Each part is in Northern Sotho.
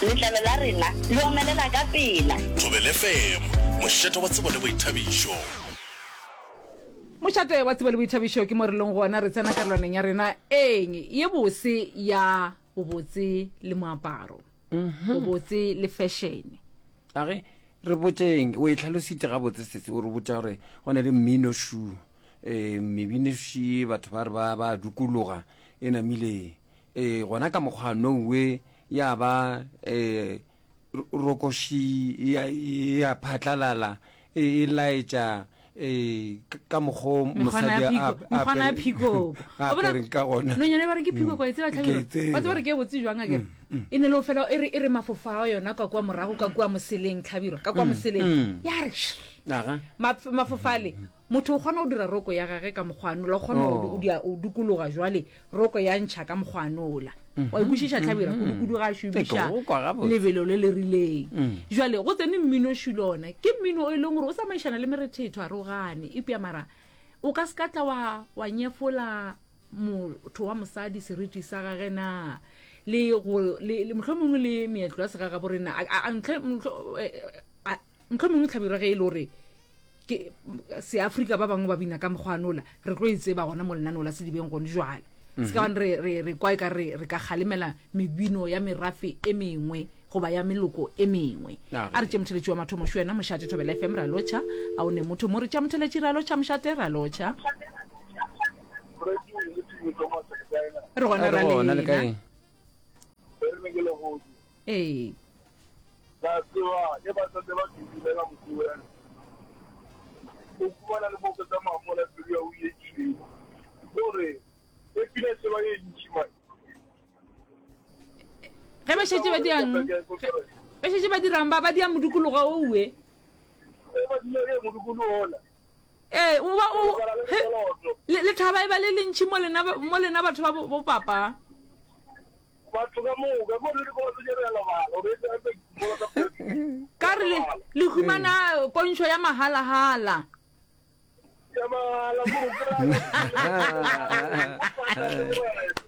Letlalo la rena le omelela ka pela. Thobela FM, mošate wa tsebo le boithabišo. Mošate wa tsebo le boithabišo ke mo re leng gona, re tsena karolwaneng ya rena eng ye bose ya bobotse le moaparo, bobotse le fashion. A re re botšeng, o e hlalositše gabotse sese, o re botša gore go na le mmino šu, um mebino ši batho ba re ba ba dukologa e namile um gona ka mokgwa nowe ya ba um rokoši ya ya phatlalala e e laetša um ka mokgwa o mosadi a mekgwana ya phikoko a apereng ka gona nonyane ba re ke phikoko e tseba Ke e tlhabelo tseba. ba tseba re ke e botse jwang a kere e ne le o fela e re e re mafofa a yona ka kua morago ka kua moseleng tlhabirwa ka kua moseleng ya re shh, Aga. Maf- mafofale motho o kgona go dira roko ya gage ka mokgwanola o kgona Oh. go dia- o dukologa jwale roko ya ntšha ka mokgwanola wa ikwešiša tlhabira kudu-kudu ga a šomiša Ke go kwa gabotse. lebelo le le rileng jwale go tsene mmino šilo ona ke mmino o e leng gore o tsamaišana le merethetho a re o gane epja mara o ka se ka tla wa, wa nyefola motho wa mosadi seriti sa gage na le go le, le mohlomongwe le meetlo ya segagabo rena a- a- a- ntlhe- mohlomongwe tlhabirwa ge e le gore Ke Seafrika ba bangwe ba bina ka mokgwanola, re tlo e tseba gona mo lenaneo la Sedibeng gone jwale. Se ka bane re, re, re kwa e ka re, re ka kgalemela mebino ya merafe e mengwe goba ya meloko e mengwe. A re tše motheletši wa mathomo šo yena Mošate Thobela FM ra lotšha. A o ne motho mo re tša motheletši ra lotšha Mošate ra lotšha. Re gona ra lena. Ee. La tseba, ge ba santse ba kitimela motseng, o humana le mo o tsamaya mola pelo ya o ye tšhweu. Gore e pina se ba ye ntši man. Ge ba šetše ba dirang, ba šetše ba dirang ba ba dia modikologo owe. Ge ba dira ge modikologo ola. Ee, o ba o le le thaba e ba le lentši mo lena mo lena batho ba bo papa. Batho ka moka, mo re dikolo tse re lebala, o re tse dikolo tsa Ka re le le humana pontšho ya mahalahala. Ya mahala mo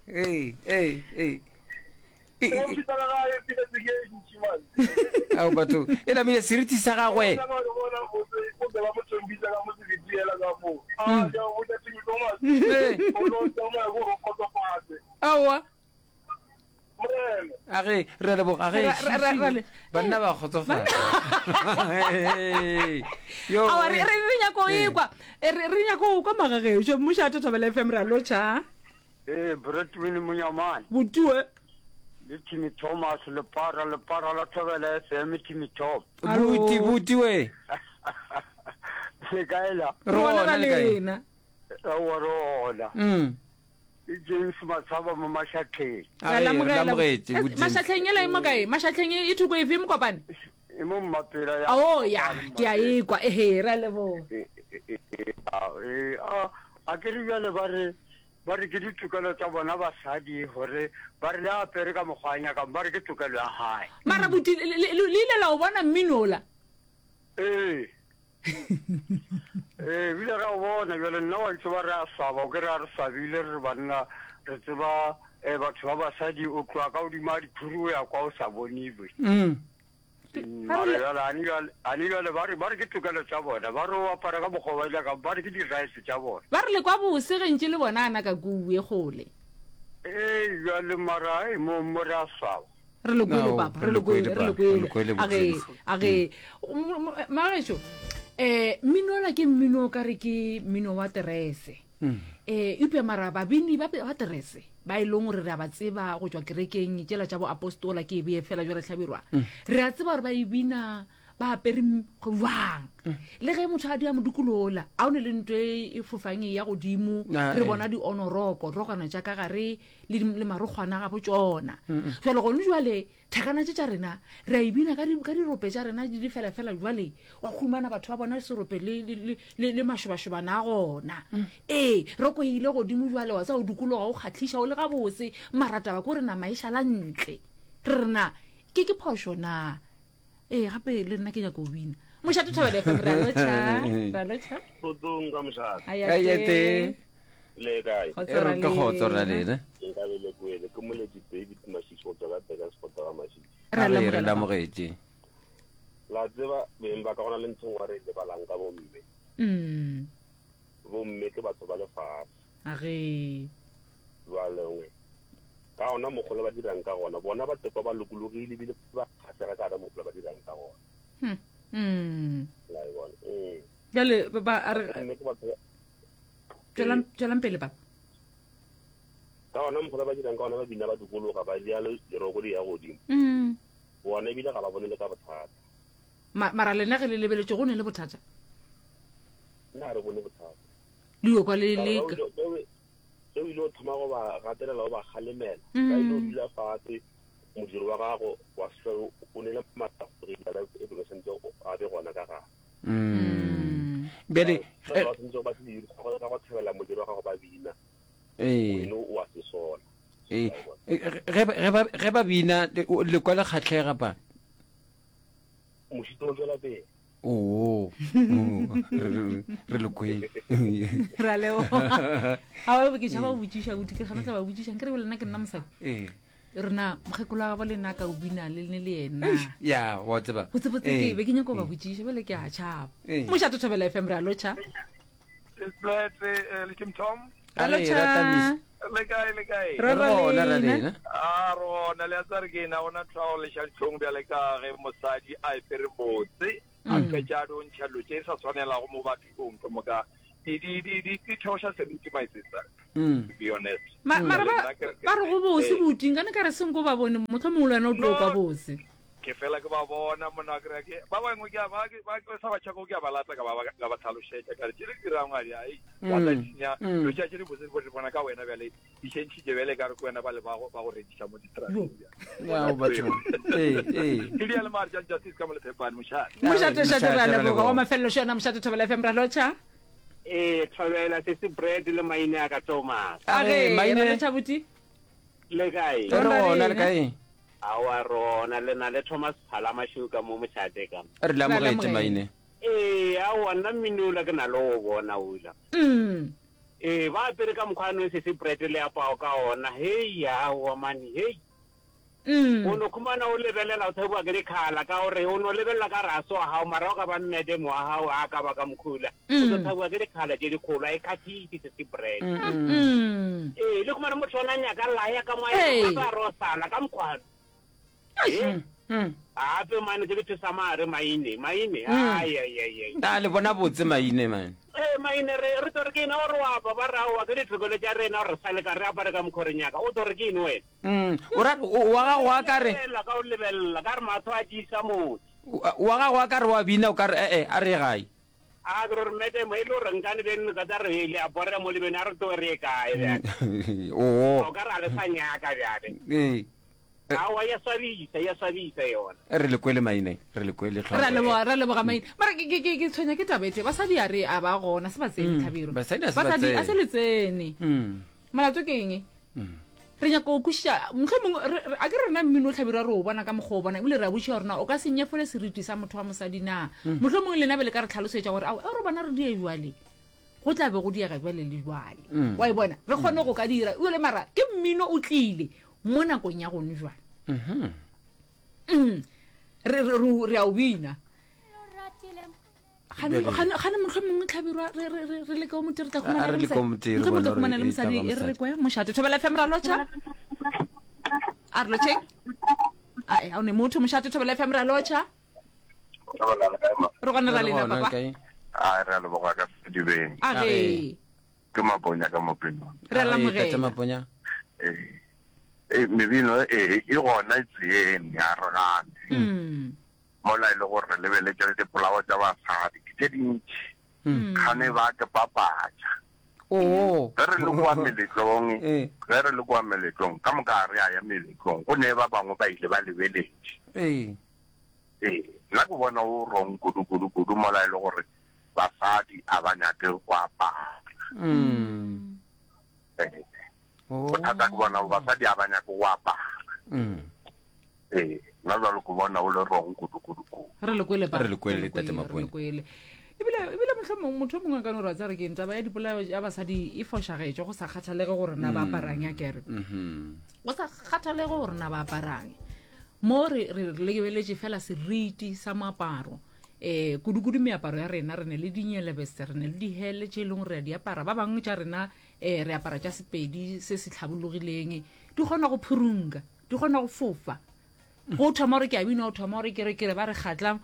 Hey, hey, hey. Ao batho, e namile seriti sa gagwe. Aowa. A ge re a leboga ge banna ba kgotsofala. Yo. Aowa re re nyako ekwa. Re nyako kwa magagešo. Mmušo a Thobela FM re a lotšha. Ee, Bretwin Monyamane. Botue. Le Timmy Thomas, lepara, lepara la Thobela FM, Timmy Tom. Buti, buti we. Le kae la? Re gona le kae? Lena. Aowa re gona. Mm. Ke James Matshaba mo Mashatleng. A re, re amogetše, Eh, bo James. Mashatleng ela e mo kae? Mashatleng e thoko efe mokopane? E mo Mmapela ya. Oh ya, ke a ekwa. Ehe, re a leboga. Eh, eh, eh, eh, a a ke re bjale ba re Ba re ke ditokelo tša bona basadi gore ba re le apere ka mokgwa a nyakang, ba re ke tokelo ya gae. Mara buti le, le, le ile la o bona mmino ola? Ee. Ee, ebile ra o bona bjale nna wa ntse ba re a swaba, o ke re a re swabile re re banna re tseba eh, batho ba basadi o tloga ka godimo ga dikhuru o ya kwa o sa boniwe. Mm. Mara bjale ani bjale ani bjale ba re ba re ke tokelo tša bona ba re o apara ka mokgwa ba nyakang ba re ke di-rights tša bona. Ba re le kwa bose ge ntše le bona ana ka kuwe kgole. Ee bjale mara ei mo mo re a swaba. Re le kwele No, papa, re re le le kwele, kwele, re le pa, re le kwele. kwele, A ge Bojames. a ge magešo eh mmino ola ke mmino o ka re ke mmino wa terese. Eh eupša mara babini ba ba terese ba e leng gore re a ba tseba go tšwa kerekeng tšela tša boapostola ke e bee fela jwale hlabirwa re a tseba gore ba e bina ba apere jwang le ge motho a dia modikolola a o ne le nto e e fofang e ya godimo Ah, re eh. bona di-onoroko rokwana tša ka gare le di- le marokgwana ga bo tšona jale gone jwale Thakana tše tša rena, re a e bina ka, di, ka dirope tša rena di le fela fela jwale, wa humana batho ba bona serope le, le, le, le, le mašobašobana a gona. Mm. Ee, roko e ile godimo jwale, wa tsa o dikologa o kgahliša o le gabotse, mara taba ko re nama e šala ntle. Re re na, ke ke phošo na? Ee, gape le nna ke nyaka go bina. Mošate Thobela FM, re a lotšha, re a lotšha. Kgotsong ka mošate. Ayate. Le kae? Kgotso E re ke kgotso ra lena. lena. Nka be le kwele. Ke moletši David Mashishi go tšwa ka Burgersfort ga Mashishi. Re a A re re lamogela, le amogetše. La tseba beng ba ka gona le ntho engwe re e lebalang ka bomme. Mm. Bomme ke batho ba lefase. A ge. Jwale ka gona mokgwa le ba dirang ka gona, bona ba tekwa ba lokologile ebile ba kgahlega ka gona mokgwa le ba dirang ka gona. Hmm. Mm. La e bona. Mm. Bjale ba ba a re Bomme ke batho ba tšwelang tšwelang pele papa. Ka gona mokgwa le ba dirang ka gona ba bina ba dikologa ba bea leroko di ya godimo. Mm. Bona ebile ga ba bone le ka bothata. Ma, mara lena ge le lebeletše go ne le bothata? Nna ga re bone bothata. Le yo kwa le leka. Ge o ile o thoma go ba gatelela o ba kgalemela, ba ile o dula fatshe modiro wa gago wa se o ne le maatla gore e be santse a be gona ka gare. Bjale ba santse ba se ka go thabela modiro wa gago ba bina. Ee. Wena o a se sola. Ee. Ge ba bina le kwa le kgahlega pa? Mošito o tšwela pele. Oo, re le kwele. Re a leboga. Aowa, ke tšhaba go botšiša, buti, ke gana tla ba botšiša. Nkere le nna ke nna mosadi. Ee. Rena mokgekolo wa gabo le nna ka o bina le ne le yena. Ya, wa tseba. Botsebotse ke be ke nyaka go ba botšiša, bjale ke a tšhaba. Mošate Thobela FM, re a lotšha. Sesplete eh, le Tim Tom. Re lotšha. Le kae le kae? Re gona ra lena. A rona le a tsare ke ena gona tlhwa go leša dihlong bjale ka ge mosadi a epere botse a mm. fetša a do ntšha dilo tše sa tshwanelago mo bathong ke moka di di di di di theoša seriti my sister mm. to be honest mara ba ba re go bose eh. buti nkane ka re senko ba bone mohlomongwe le wena o tlo kwa bose Ke fela ke ba bona monna wa kry-a ke ba bangwe ke a ba ke ba ke sa ba tšhako ke a ba lata ka ba ka ba tlhalošetša ka re tše le dirang a di ai wa tla Mm, senya mm. dilo tša tše di botse di bona ka wena bjale di šentšhitše bjale ka re ke wena ba le ba go ba go rekiša mo distrateng bjale Ao, bathong. Ee, ee. ke di ya le mare tša justice ka mo lephepane mošate mošate šate re a Mošate, re a leboga leboga. wa mafelelo šo yona mošate thobela fm ra lotšha Ee, thobela se se bread le maine a ka Thomas. a Ee, ge maine. ra lotšha buti Le kae? Re gona le kae? Aowa rona le na le Thomas Phala Mašeu ka mo mošate ka. Re le amogetše maine. Ee, aowa nna mmino ola ke na le go bona ola. Ee, ba apere ka mokgwa no se se bread le apao ka ona. Hei, aowa mane, hei. O no khumana o lebelela o thabiwa ke dikhala ka gore o no lebelela ka re a se wa gago mara o ka ba mmedem wa gago a ka ba ka mokhula. O tlo thabiwa ke dikhala tše dikgolo a e khathise se se bread. Ee, le khumana motho ona nyaka laya ka mo a Ee. ka re o sala ka mokgwano. Ee. Gape mane ke le sa mare maine, maine. Ai ai ai ai. A le bona botse maine man. Ee, maine re re tlo re ke ena o re wa apa ba re aowa ke ditokelo tša rena gore re sa leka re apare ka mokgwa re nyaka. O tlo re ke eng wena? O ra wa gago a ka re. Lebelela ka o lebelela ka re mahlo a tiisa motho. Wa gago a ka re wa bina o ka re ee a re ye gae. A ke re madam e le gore nkane beno ka tsa re le a borega mo le beno a re tloge re ye kae bjale. Oo. O ka re a le sa nyaka bjale. Ee. Aowa ya swabisa, ya swabisa yona. Re le kwele maine, re le kwele tlhompho. Ra leboga, ra leboga maine. Mara ke ke ke tshwenya ke taba e tee. Basadi a re a ba gona, se ba tsene Tlhabirwa. Basadi a se ba Basadi a tsene. se le tsene. Molato ke eng? Re nyaka go kwešiša, mohlomongwe re, re, a ke re rena mmino o Hlabirwa re o bona ka mokgwa o bona, ebile re a botšiša gore na o ka se nyefole seriti sa motho wa mosadi na. Mohlomongwe lena be le ka re tlhalosetša gore, ao, re bona re die bjale, go tla be go diega bjale le bjale. Wa e bona? Re kgone go ka dira. Ebile mara ke mmino o tlile mo nakong ya gone jwale. Re, re, re, re a o bina. Gane, gane, gane mohlomongwe Hlabirwa re, re, re, re le komiti re tla A re khumana le le mosadi. komiti re Mohlomongwe bone tla gore khumana le e tla mosadi ba e re re mosadi. kwe mošate. Thobela FM ra lotšha. A re lotšheng. Ai, a o ne motho mošate Thobela FM ra lotšha. Re gona ra Re lena gona papa. kae? A re a leboga ka sedibeng. A ge. Ke Maponya ka Mopinong. Re a A re, Tate lamogela. Maponya. Ee. Ee, mebino e e gona e tseeng ya re gane. Mm. Mola e le gore re lebeletše le dipolao tša basadi ke tše dintši, kgane ba ke papatša. Oo. Ge re le kua meletlong, Ee. ge re le kua meletlong, ka moka ga re a ya meletlong, go ne ba bangwe ba ile ba lebeletše. Ee. Ee, nna ke bona o wrong kudu kudu kudu mola e le gore basadi a ba nyake go apara. Mm. Ee. Oh. Bothata ke bona basadi a ba nyake go apara. Mm. Ee, nna jalo ke bona o le wrong kudu kudu kudu. Re le kwele pa. Re le kwele, Re Tate le Maponya. kwele. Ebile ebile mohlomong motho o mongwe a ka no re wa tseba re ke eng taba ya dipolao ya basadi e fošagetše go sa kgathalege gore na ba aparang ya kere. Mhm. Go sa kgathalege gore na ba aparang. Mo re, re lebeletše fela seriti sa moaparo, um kudu-kudu meaparo ya rena, re ne le dinyelebese, re ne le dihele tše e leng gore re a di apara, ba bangwe tša rena um re apara tša Sepedi se se hlabologileng, di kgona go phurunka, di kgona go fofa. Go thoma gore ke a bina, o thoma gore ke re ke re ba re kgatla,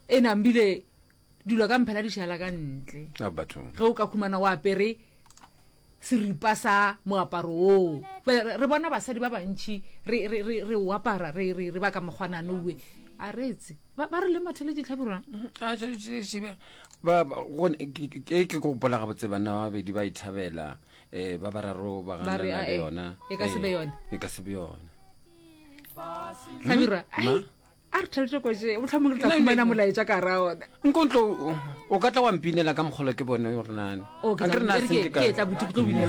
e nambile dilo ka mphela di šala ka ntle. Ge o ka khumana o apere seripa sa moaparo woo. Re bona basadi ba bantši re, re, re, re o apara, re, re, re ba ka mokgwanane owe. A re tse. Ba, ba re le matheletše tlhabirwa. Ba, ba, go, ke, ke, ke gopola gabotse banna ba babedi ba ithabela, eh, ba bararo ba Ba re, ganana le "Ae, yona. e ka se be Eh, yona." E ka se be yona. Hlabirwa, Ma? ai, a re thabetse koše mohlomong re tla fumana molaetša ka ra ona nko ntlo o ka tla wa mpinela ka mokgolo ke bone gore nane O, ke tla- e re ke- ke tla buti ke tlo binela.